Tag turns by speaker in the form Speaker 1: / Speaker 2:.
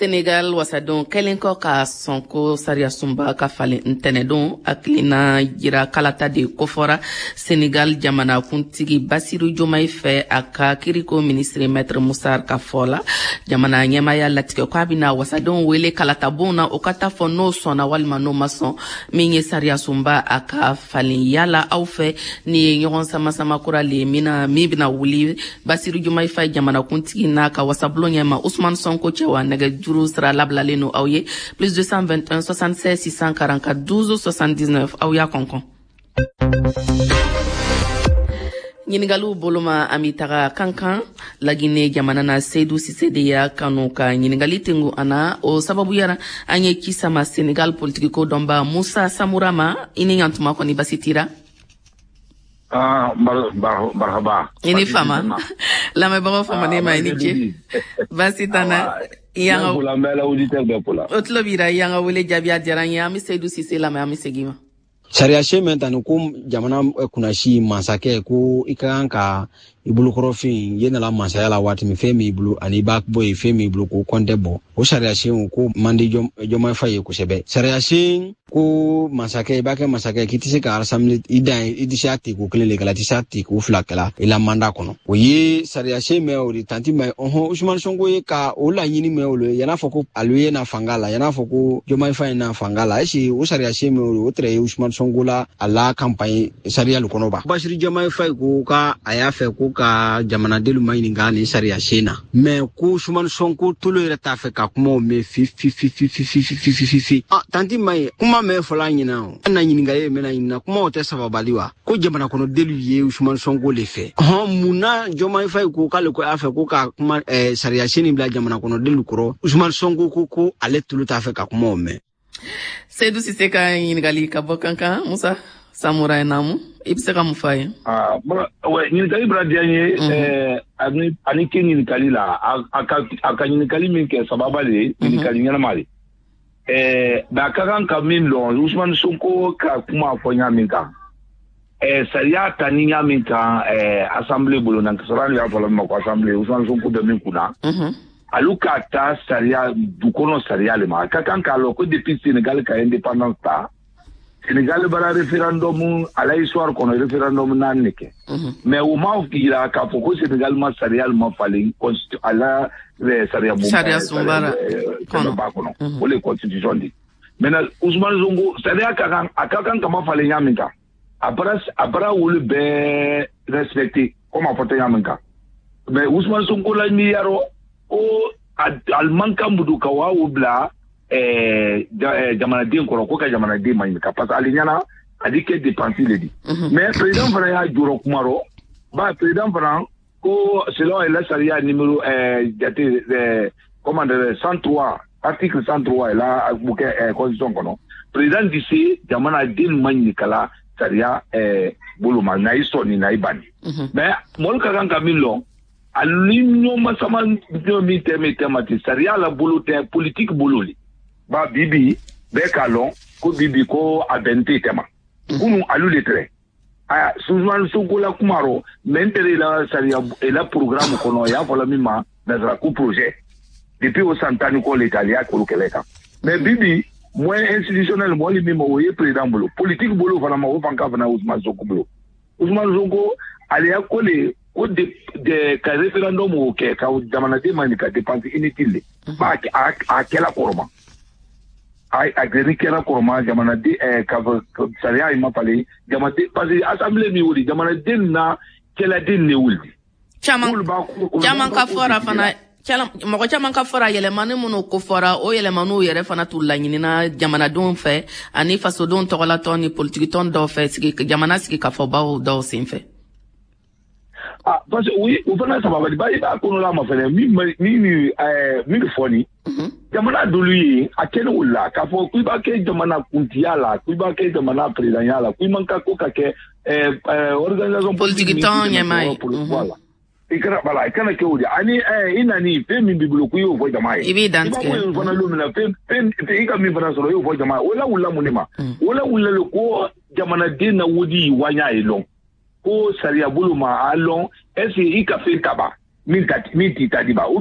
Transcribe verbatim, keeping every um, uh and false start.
Speaker 1: Senegal wasadenw kɛlen kɔ ka sɔn ko sariyasunba ka falen ntɛnɛdon, hakilina jira kalata de kofɔra Senegal jamanakuntigi Basiru Jomayi fɛ. A ka kiriko minisiri, Maître Musa ka fɔ la, jamana ɲɛmaya latigɛ ko a bɛna wasadenw wele kalatabon na, o ka taa fɔ n'o sɔnna walima n'o ma sɔn min ye sariyasunba a ka falen. Yala aw fɛ, ni ye ɲɔgɔn sama-sama kura le min na, min bɛna wuli Basiru Jomayi Faye jamanakuntigi n'a ka wasabulon ɲɛma Usumani Sɔnko cɛ wa? Nɛgɛjuru sira labilalen no aw ye: plus deux cent vingt et un soixante-seize six cent quarante-quatre douze soixante-dix-neuf. Aw y'a kɔnkɔn ɲiningaliw boloma. An bi taga Kankan, Lagine jamana na. Seyidu Sise de y'a kanu ka ɲiningali tengu an na. O sababuyara an ye ci sama Senegal politikiko dɔnba Musa Samura ma. I ni ɲantuma, kɔni basi tira?
Speaker 2: Ah, marhaba.
Speaker 1: I ni fama, lamɛnbagaw famanen ma, i ni ce, basi tana.
Speaker 2: I y'an ka
Speaker 1: o tulo b'i ra. I y'an ka wele jaabi, a diyara n ye. An bɛ Seyidu Sise lamɛn, an bɛ segin ma.
Speaker 3: Sariya min ta ni ko jamana kunnasi masakɛ ko i ka kan ka i bolokɔrɔfin ye nana masaya la waati min, fɛn b'i bolo ani i b'a bɔ yen, fɛn b'i bolo k'o kɔntɛ bɔ, o sariya sen ko man di Jɔnmaye Faye ye kosɛbɛ. Sariya sen ko masakɛ, i b'a kɛ masakɛ k'i tɛ se ka assemblée i dan i tɛ se a teko kelen de kɛla, i tɛ se a teko fila kɛla i la mandat kɔnɔ. O ye sariya sen mɛn o de tanti mɛn ɔhɔn Usumani Sonko ye ka o laɲini mɛn o le yan'a fɔ ko alu ye na fanga la, yan'a fɔ ko Jɔnmaye Faye na fanga la. Est o sariya sen mɛn o de o tɛrɛ ye Usumani Sonko la a la campagne sariya lu kɔnɔ ba. Basiru Jɔnmaye Faye ko ka a y'a fɛ ko ka jamanadenw ma ɲininka nin sariya sen na, mɛ ko Usumani Sonko tolo yɛrɛ t'a fɛ ka kumaw mɛn fi fi fi fi fi fi fi fi fi fi. Ah, tanti ma ye kuma mɛn fɔla ɲina o an na ɲininkali ye mɛna ɲininka kumaw tɛ sababali wa ko jamana kɔnɔdenw ye Usumani Sonko le fɛ. Hɔn, mun na Jɔnmaye Faye ko k'ale ko a fɛ ko ka kuma eh, sariya sen nin bila jamana kɔnɔdenw kɔrɔ, Usumani Sonko ko ko ale tolo t'a fɛ ka kumaw mɛn?
Speaker 1: Seyidu Sise ka ɲininkali ka bɔ Kankan. Musa Samura namu, i bɛ se ka mun fɔ a ye?
Speaker 2: Ah, ɲininkali bɔra diya n ye. ani ani ke ɲininkali la, a ka a ka ɲininkali min kɛ sababa de ye, ɲininkali ɲɛnama de. ɛɛ mais a ka kan ka min lɔn, Usumani Sonko ka kuma fɔ ɲa min kan, ɛɛ sariya ta ni ɲa min kan, ɛɛ assemblée bolo na sɔrɔ y'a fɔ min ma ko assemblée, Usumani Sonko bɛ min kunna, alu ka taa sariya du kɔnɔ sariya le ma. A ka kan k'a lɔn ko depuis Sénégal ka indépendance ta, Sénégal bara référendum a la histoire kɔnɔ, référendum naani de kɛ. Mais o ma yira k'a fɔ ko Sénégal ma sariya ma falen a la sariya bon
Speaker 1: sariya sunbara
Speaker 2: kɔnɔ ba kɔnɔ, o le constitution di. Maintenant, Ousmane Sonko sariya ka kan, a ka kan ka ma falen ɲa min kan, a bara a bara wolu bɛɛ respecté comme a fɔ tɛ ɲa min kan. Mais Ousmane Sonko la miiriyarɔ ko a man kan budu ka wa o bila jamanaden kɔrɔ ko ka jamanaden ma ɲininka, parce que ale ɲɛna a di kɛ dépense le di. Mais président fana y'a jɔrɔ kuma rɔ ba, président fana ko selon la sariya numéro jate, comment dire, cent trois, article cent trois la kɛ constitution kɔnɔ, président di se jamanaden ma ɲininka sariya bolo ma na i sɔnni na i banni. Mais mɔlu ka kan ka min lɔn, ali ɲɔgɔn sama min tɛ min tɛ ma ten, sariya la bolo tɛ, politique bolo le ba. Bibi bɛɛ k'a lɔn ko bibi ko a bɛn tɛ tɛma kunu alu le tɛrɛ aya Ousmane Sonko la kuma rɔ. Mais n tɛrɛ la sariya la programme kɔnɔ y'a fɔla min ma nazara ko projet depuis o san tan ni kɔ le ta ale y'a kolo kɛlɛ kan. Mais bibi moyen institutionnel mɔli min ma, o ye président bolo, politique bolo fana ma, o fan ka fana Ousmane Sonko bolo. Ousmane Sonko ale y'a ko le ko de, de ka référendum o kɛ ka jamanaden ma nin ka dépense inutile le ba a a kɛla kɔrɔma, a a gɛrɛ kɛra kɔrɔma jamanaden ɛɛ ka sariya in ma falen jamanaden, parce que assemblée min wuli jamanaden na kɛladen ne wuli.
Speaker 1: Caman caman ka fɔra fana, mɔgɔ caman ka fɔra yɛlɛmani minnu ko fɔra, o yɛlɛmaniw yɛrɛ fana t'u laɲinina jamanadenw fɛ ani fasodenw tɔgɔlatɔn ni politikitɔn dɔw fɛ, sigi jamana sigi kafɔbaw dɔw sen fɛ.
Speaker 2: Ah, parce que oui, o fana sababali ba i b'a kɔnɔla ma fɛnɛ min min ɛɛ min fɔ nin jamana dolu ye a kɛlen o la k'a fɔ k'i b'a kɛ jamana kuntiya la, k'i b'a kɛ jamana présidentya la, k'i man ka ko ka kɛ ɛɛ ɛɛ organisation
Speaker 1: politique tɔn ɲɛmaa ye.
Speaker 2: Voilà, i kana, voilà, i kana kɛ o de ani ɛɛ i nani fɛn min b'i bolo k'i y'o fɔ jama ye.
Speaker 1: I b'i dantigɛ.
Speaker 2: I b'a fɔ fana don min na, fɛn fɛn i ka min fana sɔrɔ, i y'o fɔ jama ye. O la wulila mun de ma? O la wulila le ko jamanaden na wodi waɲa ye lɔn ko sariya bolo ma a lɔn est ce que i ka fɛn ta ba min ta min t'i ta di ba ou bien